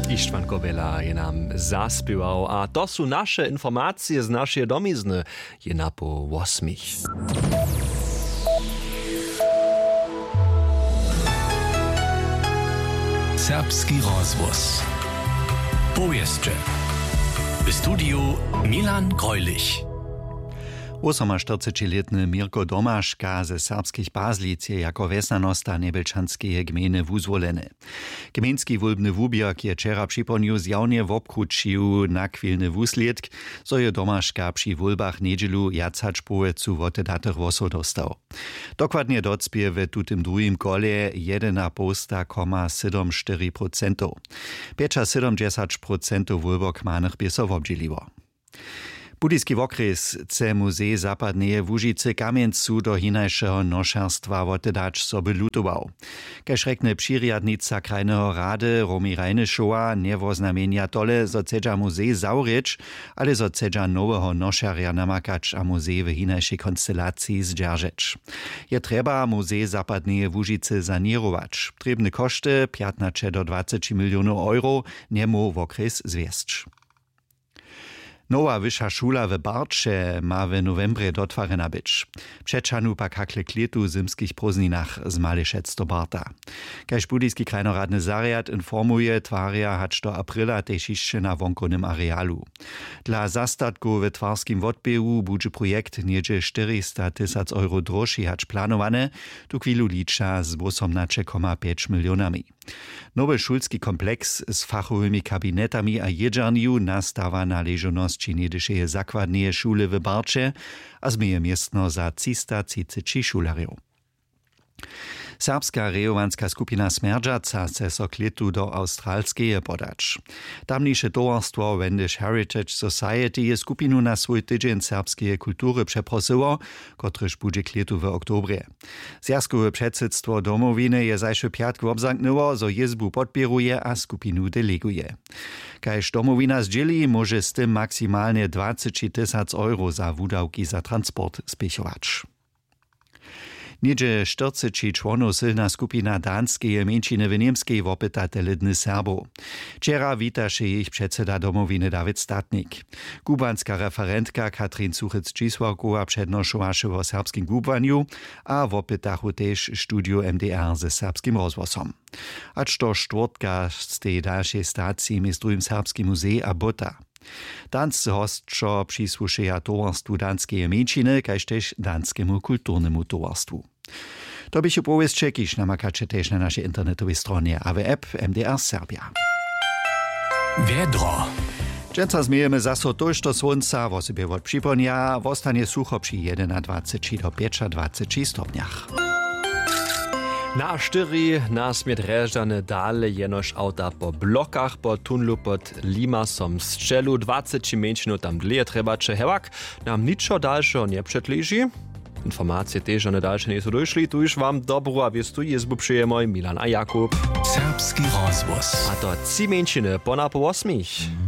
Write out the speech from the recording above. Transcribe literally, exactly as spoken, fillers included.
Ištwan Kobela je nam zaspěwał a to su naše informacije z našeje domizny. Je napoł wosmich. Serbski rozhłos. Powěsće. W studiju Milan Greulich. Wosomaštyrcećilětny Mirko Domaška ze Serbskich Pazlic je jako wjesnjanosta Njebjelčanskeje gmejny wuzwoleny. Gmejnski wólbny wuběrk je wčera připołdnju zjawnje wobkrućił nachwilny wuslědk, zo je Domaška při wólbach njedźelu wjac hač połojcu wotedatych hłosow dóstał. Dokładnje docpě w tutym druhim kolje jedynapołsta koma sydom štyri procentow. Pjećasydomdźesać procentow wólbokmanych bě so wobdźěliło. Budyski wokrjes chce muzej zapadneje łužicy kamjencu do hinašeho nošerstwa wotedać, zo by lutował. Kaž rjekny přirjadnica krajneho rady Romi Rajnyšowa, njewoznamjenja tole zo chcedźa muzej zawrěć, ale zo chcedźa noweho nošerja namakać a muzej w hinašej konstelaciji zdźeržeć. Je trjeba muzej zapadneje łužicy saněrować. Trěbne košty pjatnaće do dwaceći milionow euro njemóhł wokrjes zwjesć. Nowa wyša šula w barće ma w nowembrje dotwarjena być. Přećahnu pak hakle k lětu w zymskich prózdninach z malešec do barta. Kaž budyski krajnoradny zarjad informuje, twarja hač do aprila tež hišće na wonkownym arealu. Dla zastatkow w twarskim wotběhu budźe projekt něhdźe štyristatysac euro dróžši hač planowany, tuchwilu liča z wósomnaće koma pjeć milionami. Nowy šulski kompleks z fachowymi kabinetami a jědźernju nastawa na ležownosći něhdyšeje zakładneje šule w barće a změje městno za třistatřiceći šulerjow. Serbska rejowanska skupina smjerdźaca chce so k lětu do awstralskeje podać. Tamniše towarstwo wendish heritage society je skupinu na swój tydźeń serbskeje kultury přeprosyło, kotryž budźe k lětu w oktobrje. Zwjazkowe předsydstwo domowiny je zašły pjatk wobzamknyło, zo jězbu podpěruje a skupinu deleguje. Kaž domowina zdźěli, móže z tym maksimalnje dwaceći tysac euro za wudawki za transport spěchować. Něhdźe štyrceći čłonow sylna skupina danskeje mjeńšiny w němskej wopyta tele dny serbow. Wčera witaše jich předsyda domowiny dawid statnik. Kubłanska referentka katrin suchec-čisławkowa přednošowaše wo serbskim kubłanju a wopytachu tež studiju mdr ze serbskim rozhłosom. Hač do štwórtka stej dalšej staciji mjez druhim serbski muzej a bóta. Dansce hosćo přisłušeja towarstwu danskeje mjeńšiny kaž tež danskemu kulturnemu towarstwu. To běchu powěsće kiž namakaće tež na našej internetowej stronje a w app mdr serbja. Wjedro. Dźensa změjemy zaso tójšto słónca wosebje wot připołdnja wostanje sucho při jedenadwaceći do pjećadwaceći stopnjach. Na štyri na smět rježdane dale jenož awta po blokach po tunlu pod limasom sćelu dwaceći mjeńšinow tam dlěje trjebaće hewak. Nam ničo dalšeho njepřetleži. Informacije tež žane dalše njejsu dóšli tuž wam dobru a wěstu jězbu přejemoj milan a jakub. Serbski rozhłos a to tři mjeńšiny po napoł wosmich.